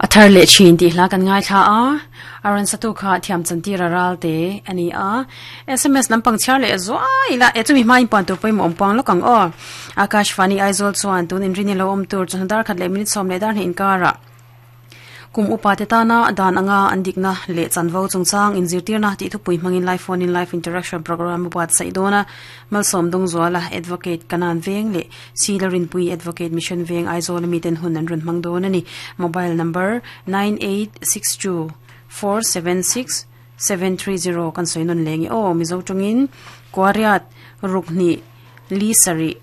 A thar leh thin tih hla kan ngaithla a, a rawn satu kha thiam chantir a ral te a ni a. Sms lampang chhiar leh zuai ila e chumi hmain puan tur pawimawh awm puang lawk ang aw. Akashvani Aizawl chuan tun inrini lo awm tur chawhnu dar khat leh minute sawm leh dar hnih inkarah Kum upa te tana dan anga an dikna leh chanvo chungchang inzirtirna tih thupui hmangin Live Phone in Live Interaction Programme a buatsaih dawn a. Malsawm Dawngzuala, Advocate, Kanan Veng leh Sila Rinpui, Advocate, Mission Veng, Aizawl miten hun an rawn hmang dawn a ni. Mobile number, 9862 476 730 kan sawi nawn leng e aw. Mizo tawngin Kuariat ruk hnih li sarih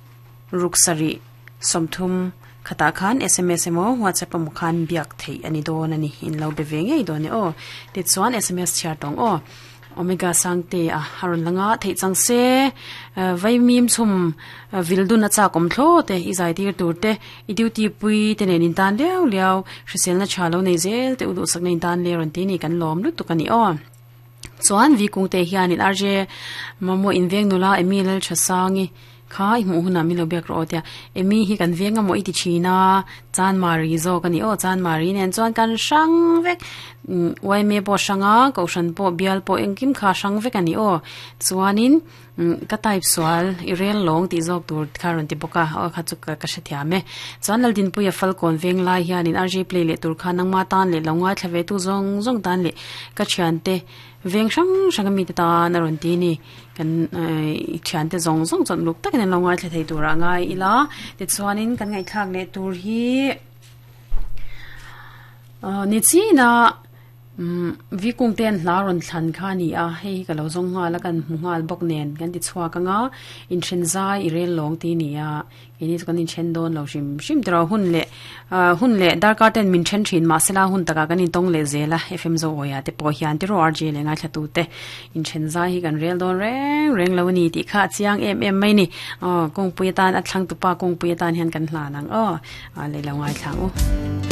ruk sarih 30 khatah khan sms emaw WhatsApp emaw khan biak theih a ni dawn a ni. In lo be ve ngei dawn e aw. Tichuan sms chhiar tawng aw. Omega Sangte a a rawn lang a, theih chang se vaimim chhum vil dun a chak awm thlawt e, i zai tir tur te, i duty pui te nen in tan liau liau, hriselna tha lo nei zel te u duhsakna in tan le rawn ti ni kan lawm lutuk a ni aw. Chuan vi kungte hianin RJ mamawh inveng nula Emi Lalthasangi Kha i hmuh hunah min lo biak rawh aw tia Amy hi kan veng a maw i ti thin a, Chanmari zawk a ni aw, Chanmari nen chuan kan hrang vek umm yma pawh a hrang a, Kohhran pawh bial pawh engkim kha a hrang vek a ni aw, chuanin umm ka type sual i rel lawng tih zawk tur kha a rawn ti bawk a, aw kha chu ka hrethiam e. Chuan Laldinpuia Falkawn veng lai hianin RJ play leh tur kha nangma tan leh lo ngaithla ve tu zawng zawng tan leh ka thiante Veng hrang hrang a mite tan a rawn ti a ni. Kan thiante zawng zawng chuan uluk takin an lo ngaithla thei turah ngai ila. Tichuanin kan ngaihthlak leh tur hi ni china vi kung te an hla rawn thlan kha a ni a. Hei hi ka lo zawng nghal a kan hmu nghal bawk nen kan ti chhuak ang a. Inthen zai i rel lawng tih a ni a. Keini chu kan inthen dawn lo hrim hrim tiraw hun leh hun leh darkar ten min then thin mahsela hun takah kan intawng leh zel a FM Zoawia te pawh hian tiraw RJ leh ngaithla te inthen zai hi kan rel dawn reng reng lo a ni tih kha a chiang em em mai ni aw kawngpui atan a thlang tupa kawngpui atan hian kan hlan ang aw leh lo ngaithla ang u.